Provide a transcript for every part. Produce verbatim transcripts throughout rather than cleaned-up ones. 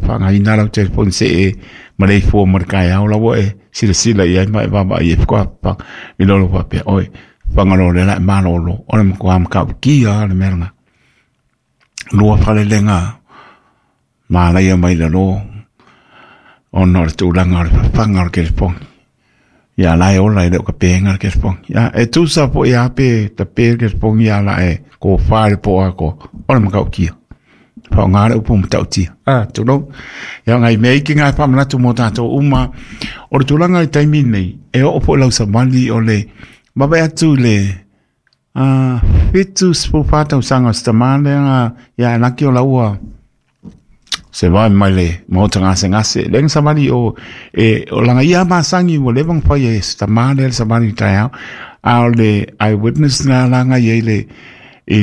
Whangaina lau telefoni se e maleifua ma le kaeao laua e silasila i ai ma e vaavaai ai faatoa i lalo faapea oe fagaloa lea la e malolo o le matua matautia le mea lena. Lua falelega malaia mai lalo ona o le tulaga o le fafaga o le telefoni. Ia la e ola e le o ka pega le telefoni. Ia e tusa po ia pe tape le telefoni ia la e kofā le po ako o le matautia. Whaonga le upu matautia. Ah, tulou. Ia ngai mea iki ngai whamanatu mō tātou uma. O le tulaga i taimi nei, e oo po lau samali o le mawae atu le uh, fitu sefulufa tausaga o se tamā lea ia laki o laua se vae mai le maota gasegase le ga savali o e o laga ia masagi ua leva ona faia e se tamā lea le savali i taeao a o le eyewitness na laga iai le i,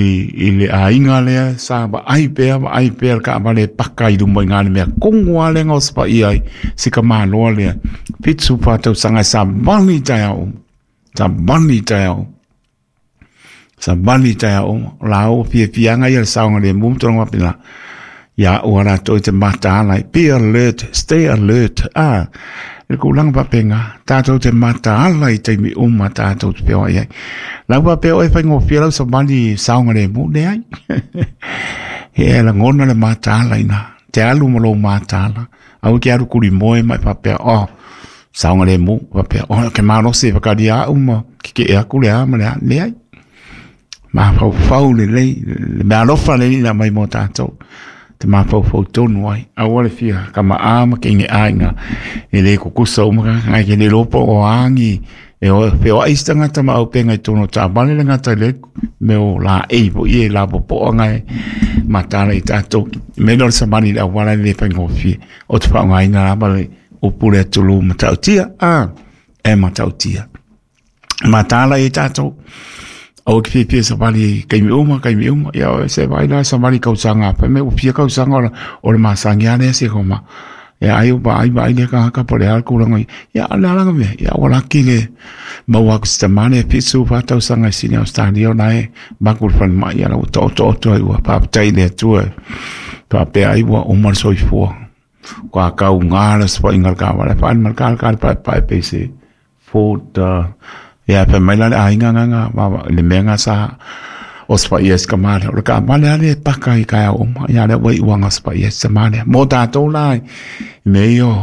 i le aiga lea sa vaai pea vaai pea le taavale e paka i luma i gā le mea kogo lava lea gaosapaia ai si kamāloa lea fitu fa tausaga e savali i taeao uma savali i taeao savali i taeao uma o la ua fiafiaga ia le saogalemu ma tulaga faapena ia ua latou i te mataala be alert stay alert ah le tulaga faapena tatou te mataala i taimi uma tatou te feoai ai lau faapea oe faigofie lau savali saogalemu leai e lagona le mataala ina te alu ma lou mataala aua ke alu kulimoe ma e faapea oh saogalemu faapea oh ke malosi e whakaria au ma keke aku le a ma le a leai mafaufau lelei le mea alofa le alii mai mo tātou te mafaufau tonu ai aua le fia kama'a ma ke'ege'a iga e lē kukusa uma ngai ke le iloa po o agi e o feoa'i se tagata ma aupega i totonu o taavale le gata i le mea o laei fo'i e lapopo'a gae matala i tatou me lea o le savali i le auala e lē faigofie o te faaaogaina lava le upu le atulū matautia a e matautia matala i tatou aua ke fiafia savali i taimi uma taimi uma ia o se vaai la savali tausaga fai mai ua fia tausaga o o le masani lava lea se koma ia ai o vaai vaai lea tagata po o le a le tulaga ia o le a la mea ia ua laki le maua atu se tamā lea fitu fa tausaga i Sini Australia o la e maku i le falemai ia la ua taotooto ai ua faafetai i le Atua faapea ai ua uma le soifua ua taugā le osofaiga o le taavale faaali ma le talatala paepae pei se Ford uh, ia fai mai la le aiga gaga le mea ga sa osofaia e si tamā lea o le taavale lava lea e paka i taeao uma ia lea ua iu aga osofaia e si tamā lea mo tatou la i mea ia o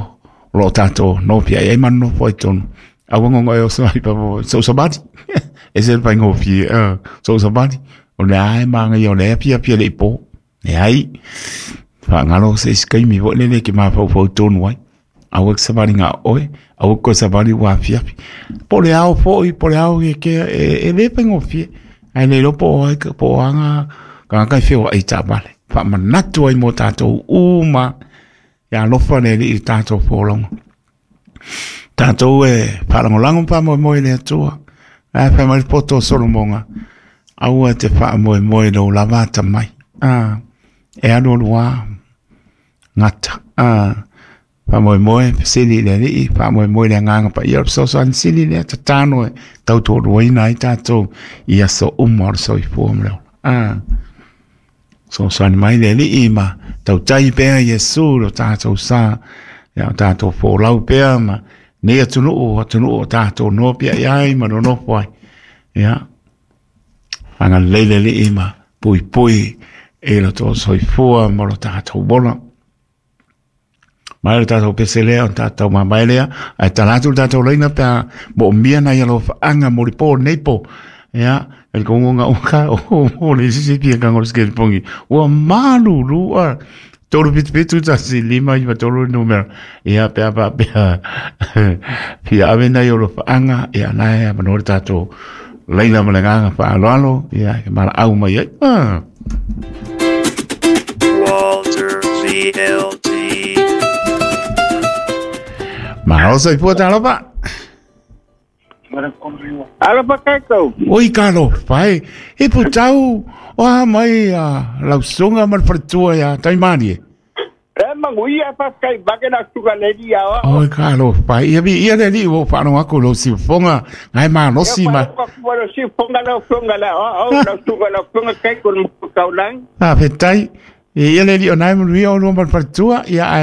loo tatou nofiai ai ma nonofo ai totonu aua gogo e oso ai fafo sou savali ese le faigofie sou savali o lea e manaia o lea e fiafia le i po leai faagalo se isi taimi foi lele e te mafaufau tonu ai aua e te savali na o oe aua e te toe savali ua afiafi po o le ao foi po o le ao e ke e, e lē faigofie ae le iloa po o ai po o aga tagata e feoai i taavale faamanatu ai mo tatou uma ia alofa le Alii i le tatou folauga tatou e faalagolago ma faamoemoe i le Atua ae fai mai le poto o Solomoga aua e te faamoemoe i lou lava atamai a e alualu lava gata a faamoemoe fesili i le Alii faamoemoe i le Agaga Paia o le fesoasoani sili lea tatalo e tautoaluaina ai tatou i aso uma o le soifua ma le ola a fesoasoani mai le Alii ma tautai pea Iesu lo tatou sa ia o tatou folau pea ma nei atunuu atunuu o tatou nopiai ai ma nonofo ai ia agalelei le Alii ma puipui i lo tou soifua ma lo tatou ola mai le tatou pese lea o tatou mamae lea ae tala atu le tatou laina pe a moomia nai alofaaga mo le po nei po ia e le kongonga uka o o le sisi pia ka ngol skele pongi ua malulu a tolu fitu fitu tasi lima iva tolu numera ia pe a faapea fia ave nai alofaaga ia la e avanoa le tatou laina ma le agaga faaaloalo ia e malaau mai ai ah. Walter V L T. Malo soifua talofa. Alofa kakou. Oi ka alofa e. E putau o a mai a lausunga ma le faletua ia Taimalie. E manuia faafetai make na suga le alii ia oa. Oi ka alofa e. Ia viia le Alii ua ou faalogo atu i lou siufofoga na e malosi ma. Ia faalogo atu i lou siufofoga lau afioga le aoao lau suga lau afioga Kaiko le Matua Taulagi. Faafetai. Ia le Alii o na e manuia oulua ma le faletua ia ae